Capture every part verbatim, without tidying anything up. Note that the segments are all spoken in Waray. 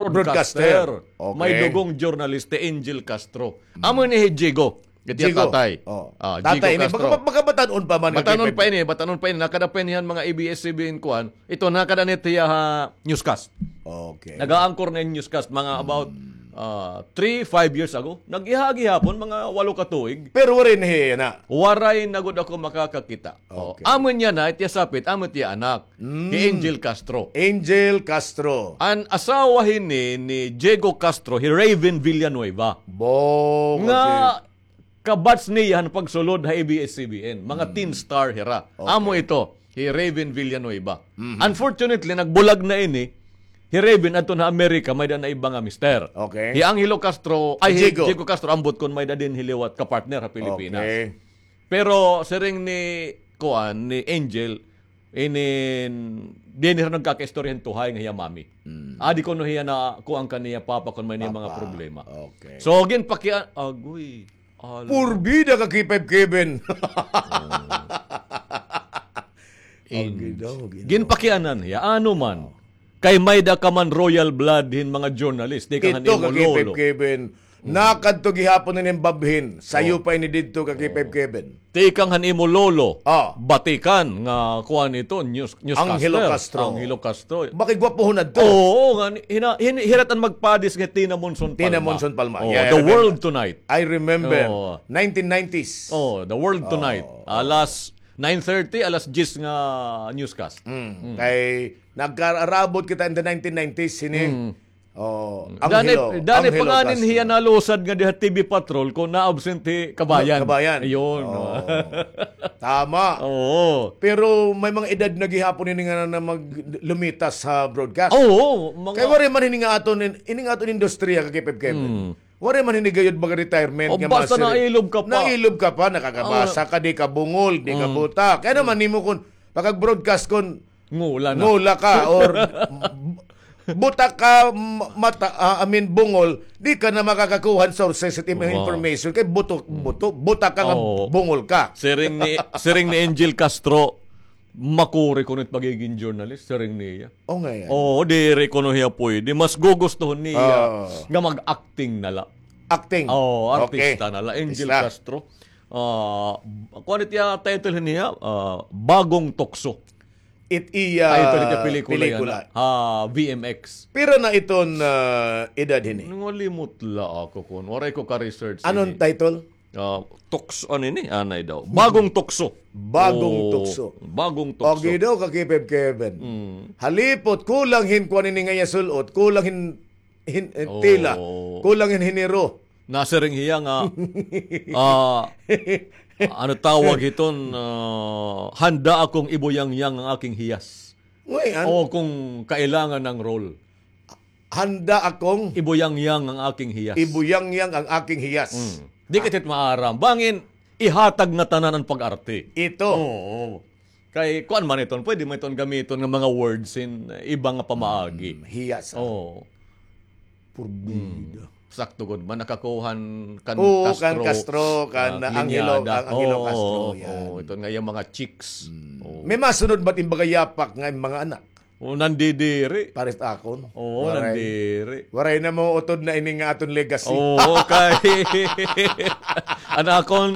Broadcaster. Broadcaster. Okay. May dugong journalist, hi Angel Castro. Amo ini hi Jigo. Iti Jigo. Tatay. Oh. Ah, tatay Jigo ini, Castro. Baka, baka batan-on pa man, Batan-on pa ini, batan-on pa ini. Nakada pa ini han mga A B S C B N kuan. Ito, nakada ini hiya ha newscast. Okay. Nag-a-anchor na hin newscast, mga about, ah, three, five years ago. Nag-iha gihapon, mga walo ka tuig. Pero waray na hiya na. Waray na gud ako makakakita. Oh, okay. Amo niya na, iti sapit, amo iti anak. Mm. Hi Angel Castro. Angel Castro. An asawa hini ni Diego Castro, hi Raven Villanueva. Bo, nga okay. Kabatch niya han pagsulod ha A B S C B N. Mga teen star hira. Okay. Amo ito, hi Raven Villanueva. Mhm. Unfortunately, nagbulag na ini. Hi Raven adto na Amerika, may-ada na iba nga mister. Okay. Hi Angelo Castro, ay, hi Diego. Diego Castro, ambot kon may-ada dinhi liwat kapartner ha Pilipinas. Okay. Pero siring ni, kuan, ni Angel, inin, dinhi hira nagkakaistorya hin tuhay nga hiya mami. Mm. Adi kuno hiya na kuan kan iya papa kon may-ada mga problema. Okay. So, ginpakian, agoy, ala. Purbida ka, K five Kevin. Oh. Ginpakianan hiya, ano man. Kay may-ada ka man royal blood hin mga journalist, tikang han imo lolo. Kevin. Nakadto gihapon ini babhin. Sayo pa ini didto ka K five Kevin. Tikang han imo lolo. Ah. Batikan nga kuan ito, news, newscaster. Angelo Castro. Angelo Castro. Bakit gwapohon adto? Oo, nga, hina-, hin-, hira it an magpadis nga Tina Monson Palma. Tina Monson Palma. Oh, yeah, I remember. The World Tonight. I remember. Oh. Nineteen nineties. Oh, The World Tonight. Oh. Alas nine thirty, alas diyes nga newscast. Mm. Mm. Kay nagkarabot kita in the nineteen nineties, hini. Mm. Oh, Anghelo, Anghelo Castro. Dani pa ngani hiya nalusad nga diha T V Patrol kon na-absent hi Kabayan. Kabayan. Ayun. Oh. Tama. Oo. Pero may mga edad na gihapon ini nga na mag-, lumitas ha broadcast. Oo, mga Kay waray man hini nga aton in-, ini nga aton industriya, ka K five Kevin. Mm. Waray man hini gayod mag-retirement nga basta masiring. Nailob ka pa. Nailob ka pa, nakakabasa ka, di ka bungol, di ka buta. Kay ano man nimo kon pakag-broadcast kon ngula na. Ngula ka or buta ka, ma-, mata, ah, I mean, bungol, di ka na makakakuha han sources it imo information kay buto, buto, buta ka nga bungol ka. Siring ni, siring ni Angel Castro, makuri kuno it pagiging journalist, siring niya. O, nga yan. Oo, diri kuno hiya pwede. Mas gugustuhon niya nga mag-acting na la. Acting. Oo, artista na la. Angel Castro. Ah, kuan it iya title niya, ah, Bagong Tukso. It iya title it iya pelikula. Ha V M X. Pira na iton, ah, edad hini? Nangalimot la ako kon. Waray ko ka-research. Anon title? Ah, tukso, ano ini? Anay daw. Bagong tukso. Bagong tukso. Bagong tukso. Okay daw, ka K five Kevin. Mm. Halipot, kulang hin kuan ini nga iya sul-ot, kulang hin, hin, eh, tela, kulang hin hiniro. Nasiring hiya nga, ah, ano tawag hiton, ah, handa akong ibuyangyang ang aking hiyas. Ngay-an. O kung kailangan ng role. Handa akong ibuyangyang ang aking hiyas. Ibuyangyang ang aking hiyas. Mm. Di ka tit maaram. Bangin, ihatag na tanan an pag-arte. Ito. Oo. Kay, kuan man iton, pwede man iton gamiton nga mga words in, eh, iba nga pamaagi. Mm, hiyas, ah. Oo. Purbida. Mm. Sakto gud man, nakakuhan kan Castro, kan Castro, kan Angelo, linyada. Ang Angelo Castro, yan. Oo, ito nga yung mga chicks. Mm. Oo. May masunod ba't yung mga yapak nga yung mga anak? O, nandidiri. Pares akon. Oo, nandiri. Waray na mo utod na ini nga aton legacy. Oo, kay an akon,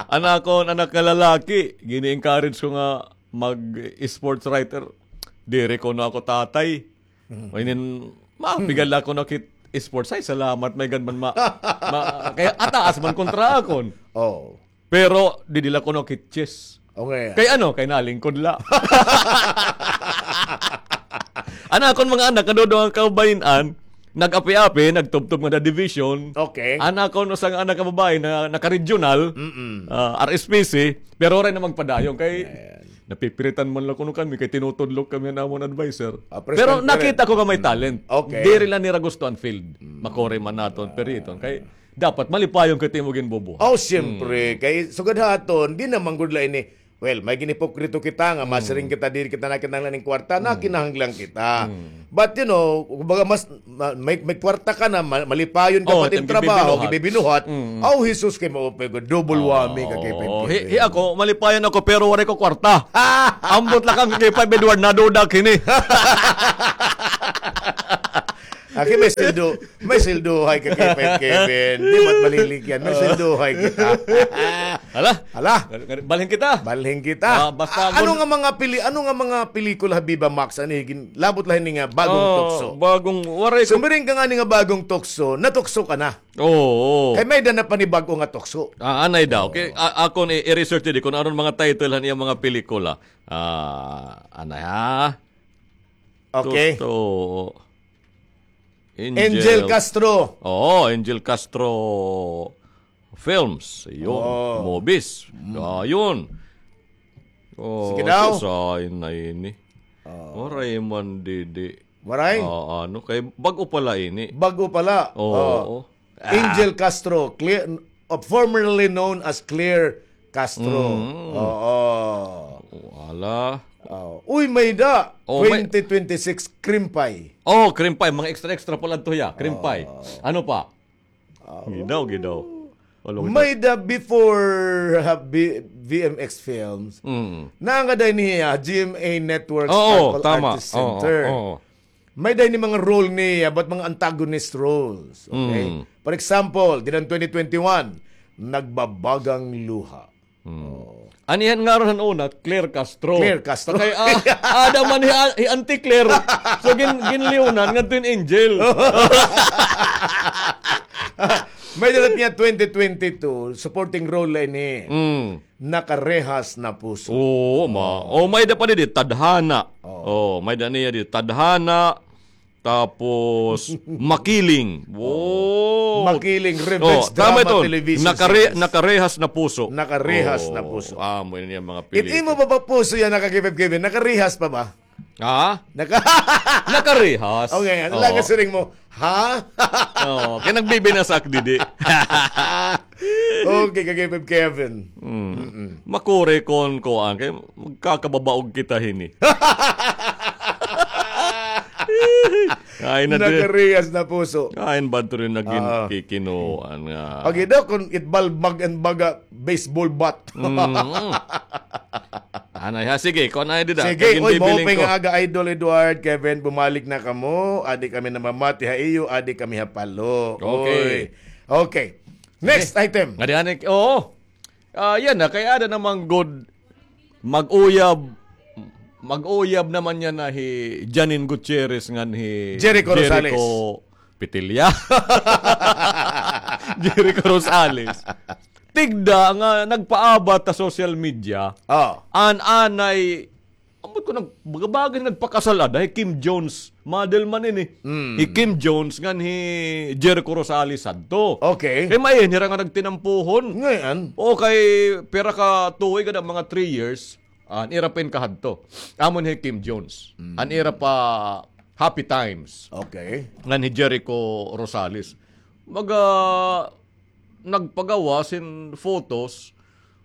an akon anak nga lalaki, gini-encourage ko nga mag-sports writer. Diri kuno ako tatay. Mm. O, inin, mapigal ako na kit sports. Ay, salamat, may gan man ma-, ma-, kaya ataas man kontra akon. Oo. Pero didi la kuno kit chess. Okay. Kay ano, kay nalingkod la. An akon mga anak, kadudong an kababayin-an, nag-api-api, nagtubtob ngada division. Okay. An akon usa nga anak nga babaye na naka-regional, ah, R S P C, pero waray na magpadayon kay napipiritan man la kuno kami kay tinutudlok kami han amon adviser. Ah, pero nakita ko nga may talent. Okay. Diri la nira gusto an field. Makuri man naton piriton kay dapat malipayon kay it imo ginbubuhat. Oh, siyempre. Kay sugad ha aton, di naman gud la ini. Well, may ginipokrito kita nga masiring kita, diri kita nakinahanglan ning kwarta, nakinahanglan kita. But, you know, kumbaga mas, ma-, may, may kwarta ka na, ma-, malipayon ka pa it imo trabaho, gibibinuhat. Aw, Jesus, kay maupay ko, double whammy ka kay Pepe. Hi, hi ako, malipayon ako, pero waray ko kwarta. Ambot la kan kay Five Edward, naduda kini. Aki, may sweldo, may sweldo hay ka, K five Kevin. Di mat maliligyan, may sweldo hay kita. Hala. Hala. Balhin kita. Balhin kita. Ah, basta ano nga mga pili-, ano nga mga pelikula ha Viva Max, ano, gin-, labot la hini nga bagong tukso? Bagong, waray ko. Sumiring ka nga ni nga bagong tukso, natukso ka na. Oo. Kay may-ada na panibag-o nga tukso. Ah, anay daw. Okay, a-, akon i-, i-research didi kun ano mga title han iya mga pelikula. Ah, anay ha? Okay. Tukso. Angel Castro. Oo, Angel Castro Films. Yun. Movies. Ah, yun. Oh, sige daw. Sasain na ini. Waray man didi. Waray? Ah, ano, kay bag-o pala ini. Bag-o pala. Oo. Angel Castro, clear, uh, formerly known as Claire Castro. Mm. Oo. Wala. Oh. Uy, may-ada. Oh, may- twenty twenty-six Krimpay. Oh, Krimpay. Mga extra-extra pala ito, ya. Krimpay. Oh. Ano pa? Gidaw, gidaw. May-ada before, ha, B-, V M X Films. Mm. Naangad ay niya, G M A Networks, oo, Tagpal tama. Artist Center. Oo, oo. May-ada ini mga role niya, but mga antagonist roles. Okay? Mm. For example, dida han twenty twenty-one, Nagbabagang Luha. Hmm. Oh. An iya ngaran han una, Claire Castro. Claire Castro. Kay, ah, ada man hi, hi Auntie Claire. So, gin-, ginliwnan ngadto hin Angel. May-ada la niya twenty twenty-two, supporting role la ini. Mm. Nakarehas na Puso. Oo, ma-, oh, may-ada pa didi, Tadhana. Oh. Oh, may-ada niya didi, Tadhana. Tapos, Makiling. Wow. Makiling, revenge drama television series. Nakare-, Nakarehas na Puso. Nakarehas na Puso. Amo ini an mga pelikula. It imo ba pa puso yana, ka Kevin Kevin? Nakarehas pa ba? Ha? Naka- Nakarehas. Okay, ano lang ang siring mo? Ha? Oo, kay nagbibinasak didi. Okay, ka Kevin Kevin. Mm. Makuri kon kuan, kay magkakababaog kita hini. Ay, na di. Nakarehas na Puso. Ay, bad to rin naging kikinuan nga. Pag ito, kung it balbag and baga, baseball bat. Mm. Anay ha, sige, kon anay dida. Sige, oy, maupay nga aga, Idol Edward, Kevin, bumalik na kamo. Adi kami namamati ha iyo, adi kami ha Palo. Okay. Oy. Okay. Next item. Ngadi, anay, oo. Ah, yana, kay ada naman gud mag-uyab, mag-uyab naman yana hi Janine Gutierrez ngan hi Jericho Rosales. Jericho Petilla. Jericho Rosales. Tigda nga nagpaabat ha social media. Oh. An anay Ambot ko nag-, baga-baga nagpakasal ada hi Kim Jones. Model man ini. Mm. Hi Kim Jones ngan hi Jericho Rosales hadto. Okay. Kay may hira nga nagtinampuhon. Ngay-an. O kay pira ka tuig ada, mga three years. An ira pa in kahadto. Amon hi Kim Jones. Mm. An ira pa Happy Times. Okay. Ngan hi Jericho Rosales. Maga nagpagawas hin photos.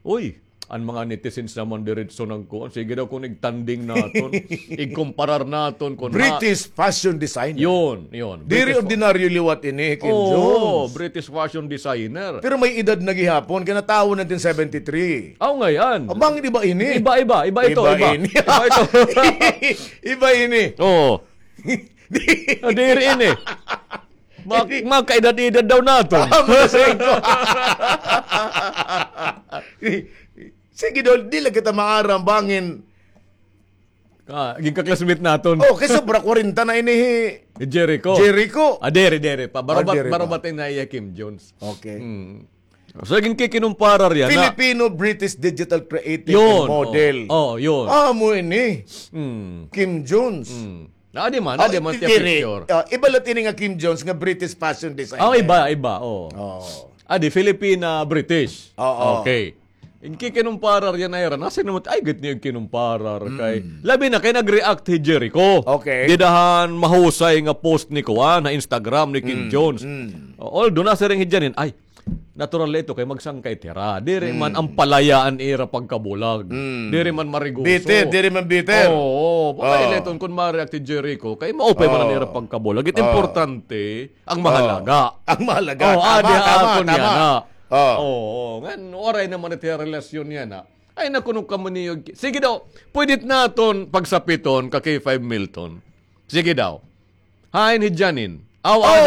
Uy, an mga netizens naman diretso nagkuan. Sige daw kon igtanding naton, igkomparar naton kon ha- British fashion designer. Yun, yun. Diri ordinaryo liwat ini, Kim Jones. Oo, British fashion designer. Pero may edad na gihapon, kay natawo nineteen seventy-three. Aw, ngay-an. Bangin iba ini. Iba, iba, iba ito, iba. Iba ini. Iba ito. Iba ini. Oo. Ah, diri ini. Ma-, makaedad-edad daw naton. Ah, masay ko. Sige daw, di la kita maaram bangin. Ah, ginkaklasmate naton. Oh, kay sobra kwarenta na ini hi Jericho. Jericho. Ah, diri, diri pa. Barubat, ah, diri pa. Barubat na iya Kim Jones. Okay. Hmm. So, ginkikinumparar yana. Filipino-British digital creative and model. Yun, oh. Oh, yun. Amo ini. Hmm. Kim Jones. Hmm. Ah, di man, ah, di man siya picture. Ah, iba la ini nga Kim Jones nga British fashion designer. Ah, iba, iba, oo. Oo. Ah, di Filipina, British. Oo. Okay. Igkikinumparar yana ira. Nasiring naman, ay, gud niyo igkinumparar kay. Mm. Labi na kay nag-react hi Jericho. Okay. Dida han mahusay nga post ni kuan ha Instagram ni Kim Jones. Mm. Although nasiring hi Janine, ay, natural ito kay magsangkay it hira. Diri man an palaya an ira pagkabulag. Mm. Diri man mariguso. Bitter, diri man bitter. Oo, oo. Baka ila iton kun ma-react hi Jericho, kay maupay man an ira pagkabulag. It importante, ang mahalaga. Ang mahalaga. Oo, tama, adi tama, akon tama. Yana. Oo. Oo, ngan, waray naman it relasyon yana. Ay, naku, no kamo niyo. Sige daw, pwede naton pagsapiton ka K five Milton. Sige daw. Hain hi Janine. Aw, aw,